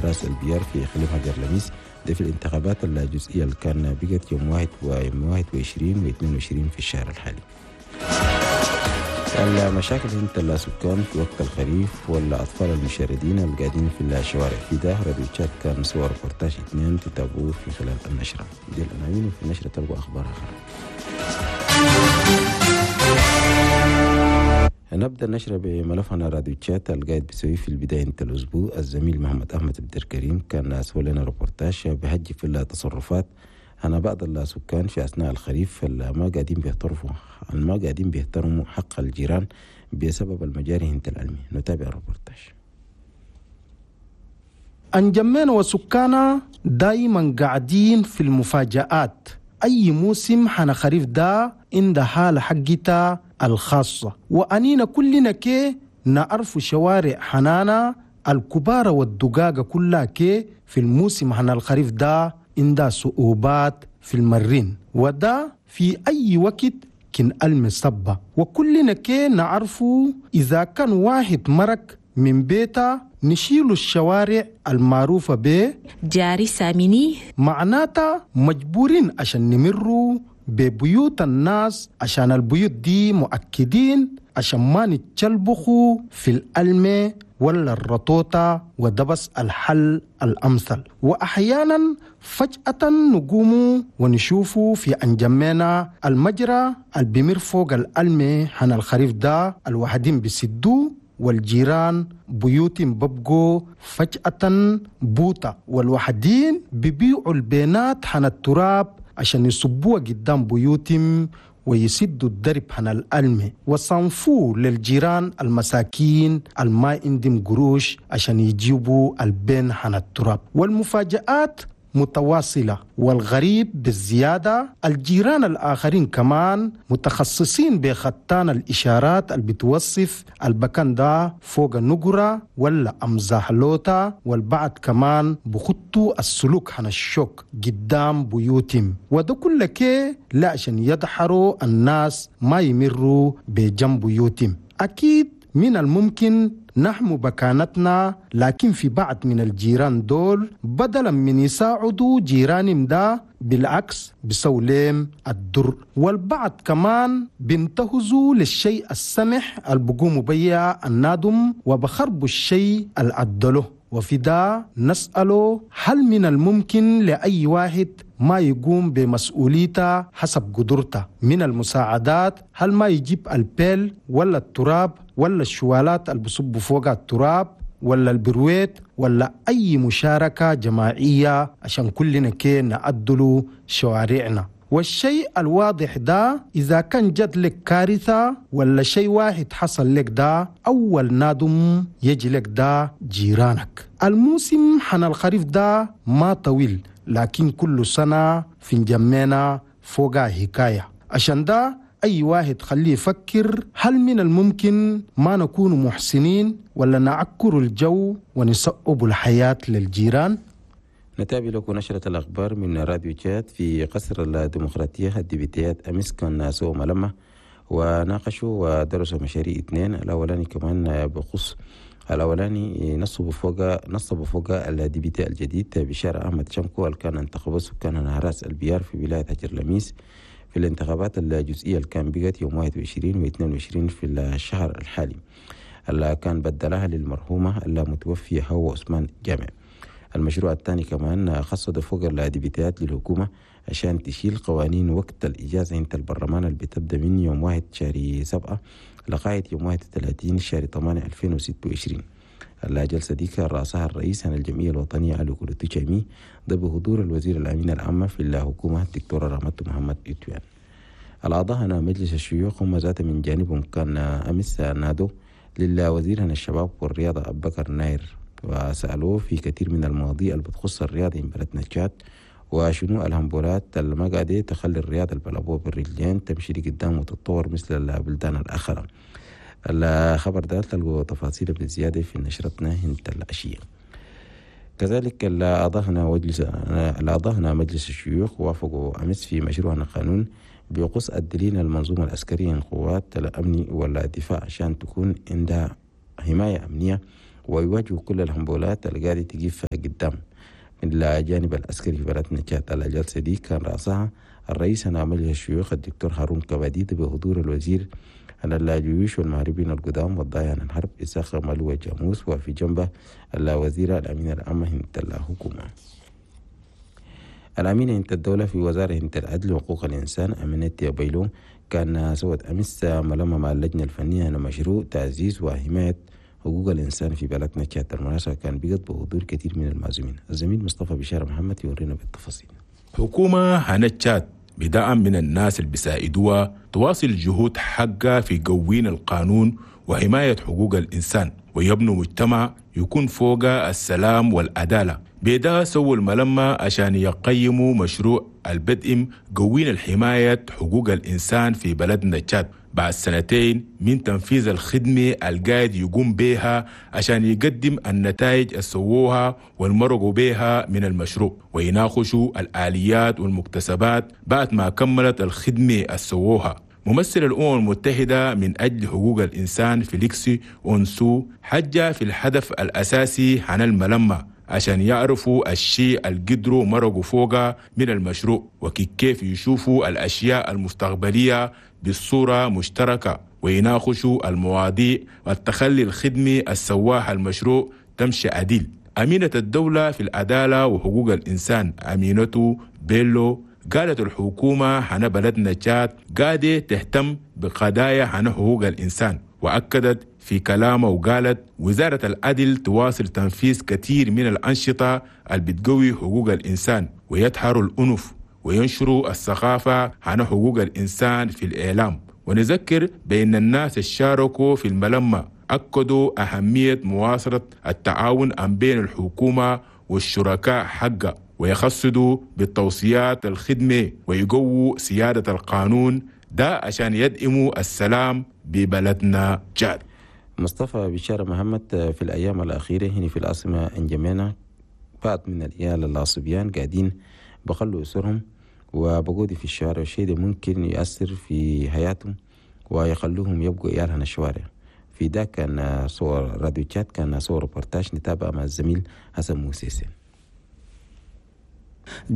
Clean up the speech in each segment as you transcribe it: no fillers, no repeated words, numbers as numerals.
راس البيار في إقليم هجر لميس، ده في الانتخابات الجزئية اللي كان بقت يوم 21 و22 في الشهر الحالي. المشاكل انت السكان في وقت الخريف والأطفال المشردين اللي قاعدين في الشوارع في ده راديو تشاد كان صور ريبورتاج 2 تتابعوه في خلال النشرة دي العناوين، وفي النشرة تلقوا أخبار أخرى. نبدأ النشرة بملفنا راديو تشاد القاعد بيسوي في البداية انت الأسبوع الزميل محمد أحمد عبد الكريم كان سوى لنا ريبورتاج بهجي في التصرفات أنا بعض السكان في أثناء الخريف ما قاعدين بيحترموا حق الجيران بسبب المجاري انت العلمي. نتابع الريبورتاج. أنجمين وسكانا دايما قاعدين في المفاجآت. أي موسم حنا خريف دا عند حالة حقتا الخاصة، وأنينا كلنا كي نعرف شوارع حنانا الكبار والدقاقة كلها كي في الموسم حنا الخريف دا عندها صعوبات في المرين، وده في أي وقت كن المصبة. وكلنا كي نعرفوا إذا كان واحد مرك من بيته نشيل الشوارع المعروفة به جاري ساميني، معناتها مجبورين عشان نمروا ببيوت الناس، عشان البيوت دي مؤكدين عشان ما نتشلبخوا في الألمة ولا الرطوطة، وده بس الحل الأمثل. وأحيانا فجأة نقوم ونشوفوا في أنجمينا المجرى البمر فوق الألمة حن الخريف ده الوحدين بيسدوه، والجيران بيوت ببقوا فجأة بوطة، والوحدين ببيعوا البينات حن التراب عشان يصبوها قدام بيوتهم ويسدوا الدرب حن الألمة، وصنفوا للجيران المساكين الما عندهم قروش عشان يجيبوا البين حن التراب. والمفاجآت متواصلة، والغريب بالزيادة الجيران الآخرين كمان متخصصين بخطان الإشارات اللي بتوصف البكان ده فوق النقرة ولا أمزاحلوتا، والبعض كمان بخطوا السلوك حن الشوك قدام بيوتهم، وده كله كي لا عشان يدحروا الناس ما يمروا بجنب بيوتهم. أكيد من الممكن نحمو بكانتنا، لكن في بعض من الجيران دول بدلا من يساعدوا جيرانهم ده بالعكس بسوليم الدر، والبعض كمان بينتهزوا للشيء السمح اللي بقوموا بيه النادم وبخربوا الشيء العدله. وفي ده نسأله هل من الممكن لأي واحد ما يقوم بمسؤوليته حسب قدرته من المساعدات؟ هل ما يجيب البيل ولا التراب ولا الشوالات اللي بصبوا فوق التراب ولا البرويت ولا أي مشاركة جماعية عشان كلنا كي نعدلوا شوارعنا؟ والشيء الواضح ده إذا كان جد لك كارثة ولا شيء واحد حصل لك ده أول نادم يجي لك ده جيرانك. الموسم حن الخريف ده ما طويل، لكن كل سنة في جمعنا فوق حكاية. عشان ده أي واحد خليه يفكر هل من الممكن ما نكون محسنين ولا نعكر الجو ونصعب الحياة للجيران؟ نتابع لكم نشرة الأخبار من راديو تشاد. في قصر الديمقراطية الديبيتيات أمس كان سووا ملمة وناقشوا ودرسوا مشاريع 2. الأولاني كمان بخص الأولاني نصبوا فوق ال député الجديد بشارع أحمد شمكو اللي كان انتخبه سكان راس البيار في ولاية هجر لميس في الانتخابات الجزئية اللي كان بقت يوم 21 و22 في الشهر الحالي، اللي كان بدلها للمرحومة المتوفية هو عثمان جامع. المشروع الثاني كمان خصص فوق الديبيتات للحكومة عشان تشيل قوانين وقت الإجازة انت البرلمان اللي بتبدأ من يوم 1 شهر 7 لغاية يوم 31 شهر 8 2026. الجلسة دي كان رأسها الرئيس عن الجمعية الوطنية علي كولوتو شامي، ده بحضور الوزير الأمين العام في الحكومة الدكتور رحمة محمد إتوان. الأعضاء هنا مجلس الشيوخ هم ذات من جانبهم كان أمس نادوا للوزير هنا الشباب والرياضة أبو بكر ناير وسألوه في كثير من المواضيع اللي بتخص الرياضة من بلدنا تشاد، وشنو الهمبولات اللي ما قاعدة تخلي الرياضة البلبوه بالرجلين تمشي لقدام وتتطور مثل البلدان الأخرى. الخبر ده تلقوا تفاصيله بالزيادة في نشرتنا هنت العشية. كذلك الأعضاء هنا مجلس الشيوخ وافقوا أمس في مشروع قانون بيقص الدليل المنظومة العسكرية القوات الأمن والدفاع عشان تكون عندها حماية أمنية ويواجهوا كل الهمبولات اللي قاعدة تقف قدام من الجانب العسكري في بلدنا تشاد. الجلسة دي كان رأسها الرئيس مجلس الشيوخ الدكتور هارون كباديد بحضور الوزير عن الجيوش والمهربين القدام والضايع عن الحرب إساق مالو جاموس، وفي جنبه الوزيرة الأمينة العامة هنت الحكومة. الأمينة هنت الدولة في وزارة هنت العدل وحقوق الإنسان أمينة بيلو كان سوت أمس ملامة مع اللجنة الفنية عن مشروع تعزيز وحماية حقوق الإنسان في بلدنا تشاد. المناسبة كان بقت بحضور كثير من المعزومين. الزميل مصطفى بشارة محمد يورينا بالتفاصيل. حكومة هنا تشاد بدعم من الناس اللي بيساعدوها تواصل جهود حقها في قوين القانون وحماية حقوق الإنسان ويبنوا مجتمع يكون فوق السلام والعدالة. بيدا سووا الملمة عشان يقيموا مشروع البدء قوين الحماية حقوق الإنسان في بلدنا تشاد بعد سنتين من تنفيذ الخدمة القاعد يقوم بها عشان يقدم النتائج السووها والمرقوا بها من المشروع ويناقشوا الآليات والمكتسبات بعد ما كملت الخدمة السووها. ممثل الأمم المتحدة من أجل حقوق الإنسان فيليكس أونسو حجة في الهدف الأساسي عن الملمة عشان يعرفوا الشيء اللي قدروا مرقوا فوقه من المشروع وكيف يشوفوا الأشياء المستقبلية بالصورة مشتركة ويناقشوا المواضيع والتخلي الخدمي السواح المشروع تمشي عديل. أمينة الدولة في العدالة وحقوق الإنسان أمينة بيلو قالت الحكومة حنا بلدنا تشاد قاعدة تهتم بقضايا حنا حقوق الإنسان، وأكدت في كلامه وقالت وزارة العدل تواصل تنفيذ كثير من الأنشطة اللي بتقوي حقوق الإنسان ويدحروا الأنف وينشروا الثقافة عن حقوق الإنسان في الإعلام. ونذكر بأن الناس الشاركوا في الملمة أكدوا أهمية مواصلة التعاون بين الحكومة والشركاء حقه ويخصدوا بالتوصيات الخدمة ويقووا سيادة القانون ده عشان يدعموا السلام ببلدنا تشاد. مصطفى بشارة محمد، في الأيام الأخيرة هنا في العاصمة انجمينا بعض من العيال الصبيان قاعدين بخلوا أسرهم وبقودي في الشوارع، والشيء ده ممكن يؤثر في حياتهم ويخلوهم يبقوا عيال هنا الشوارع. في ده كان صور راديو تشاد، كان صور ريبورتاج نتابع مع الزميل حسن موسيسي.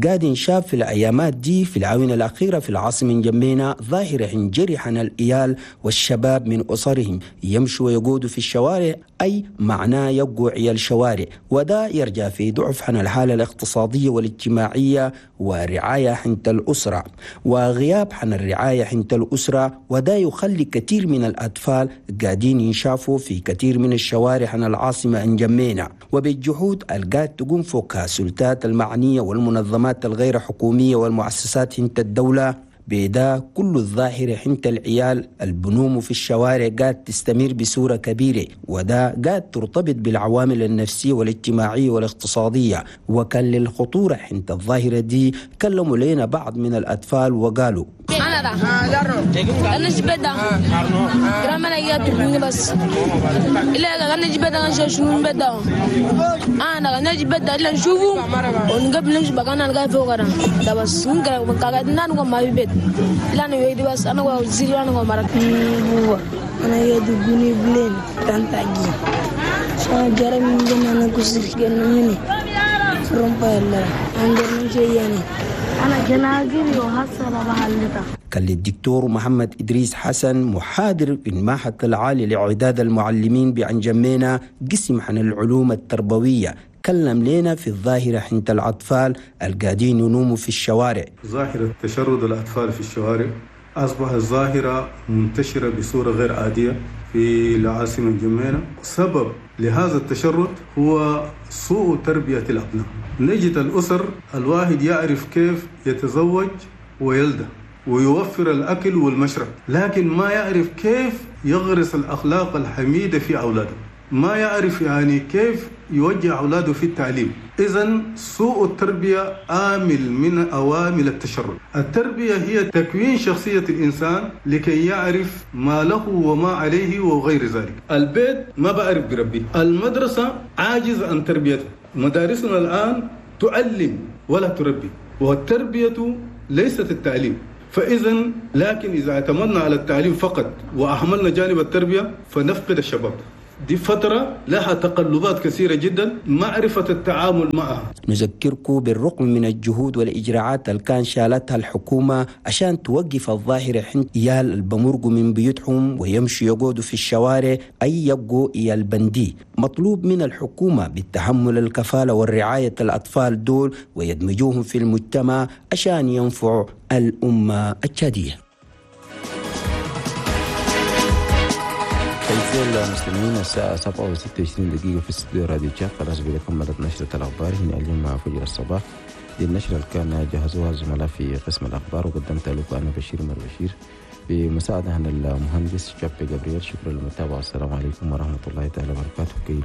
قاعد شاف في الأيامات دي في العوينة الأخيرة في العاصمة جمينا ظاهرة جرحنا الإيال والشباب من أسرهم يمشوا ويقودوا في الشوارع، أي معناه يبقوا عيال شوارع، وده يرجع في ضعف عن الحالة الاقتصادية والاجتماعية ورعاية حنت الأسرة وغياب عن الرعاية حنت الأسرة، وده يخلي كثير من الأطفال قاعدين ينشافوا في كثير من الشوارع عن العاصمة انجمينا. وبالجهود القاد تقوم فوقها السلطات المعنية والمنظمات الغير حكومية والمؤسسات حنت الدولة، بدا كل الظاهرة حنت العيال البنوم في الشوارع قاعد تستمر بصورة كبيرة، وده قاعد ترتبط بالعوامل النفسية والاجتماعية والاقتصادية. وكان للخطورة حنت الظاهرة دي كلموا لنا بعض من الأطفال وقالوا أنا ده أنا جبدا كرامنا يا تبني بس إلا أنا جبدا أنا شو بدا أنا جبدا إلا نشوفه ونقبل نمشي بقانا نلقى فوق ده بس نقرأ كعادنا نقوم ما بيت لا نويد بس أنا وزير أنا ومرك أنا يدقني بلين تانتاجي أنا جرى من جنة أنا كسر جنة مني رمبا الله عندنا شيء أنا جناجري وحصل بحالتها. كان للدكتور محمد إدريس حسن محاضر في المعهد العالي لإعداد المعلمين بأنجمينا قسم عن العلوم التربوية، كلم لنا في الظاهرة حنت الأطفال القاعدين ينوموا في الشوارع. ظاهرة تشرد الأطفال في الشوارع أصبحت ظاهرة منتشرة بصورة غير عادية في العاصمة جمينة. سبب لهذا التشرد هو سوء تربية الأبناء. نجد الأسر الواحد يعرف كيف يتزوج ويلده ويوفر الأكل والمشرب، لكن ما يعرف كيف يغرس الأخلاق الحميدة في أولاده، ما يعرف يعني كيف يوجه أولاده في التعليم. إذن سوء التربية عامل من عوامل التشرد. التربية هي تكوين شخصية الإنسان لكي يعرف ما له وما عليه وغير ذلك. البيت ما بعرف بربيه، المدرسة عاجز عن تربيته. مدارسنا الآن تعلم ولا تربي، والتربية ليست التعليم. فإذا لكن إذا اعتمدنا على التعليم فقط وأهملنا جانب التربية فنفقد الشباب. دي فترة لها تقلبات كثيرة جدا، معرفة التعامل معها. نذكركم بالرغم من الجهود والإجراءات اللي كان شالتها الحكومة عشان توقف الظاهرة حين إيال البمرقوا من بيوتهم ويمشوا يقعدوا في الشوارع أي يبقوا إيال بندي، مطلوب من الحكومة بالتحمل الكفالة والرعاية الأطفال دول ويدمجوهم في المجتمع عشان ينفعوا الأمة التشادية. أعزائي المستمعين، الساعة 7:26 في استوديو راديو تشاد. خلاص بكم كملت نشرة الأخبار هنا اليوم مع فجر الصباح. دي النشرة اللي كان جهزوها الزملاء في قسم الأخبار وقدمتها لكم أنا بشير مر بشير بمساعدة من المهندس شابي جبريل. شكرا للمتابعة، والسلام عليكم ورحمة الله تعالى وبركاته. كيلو.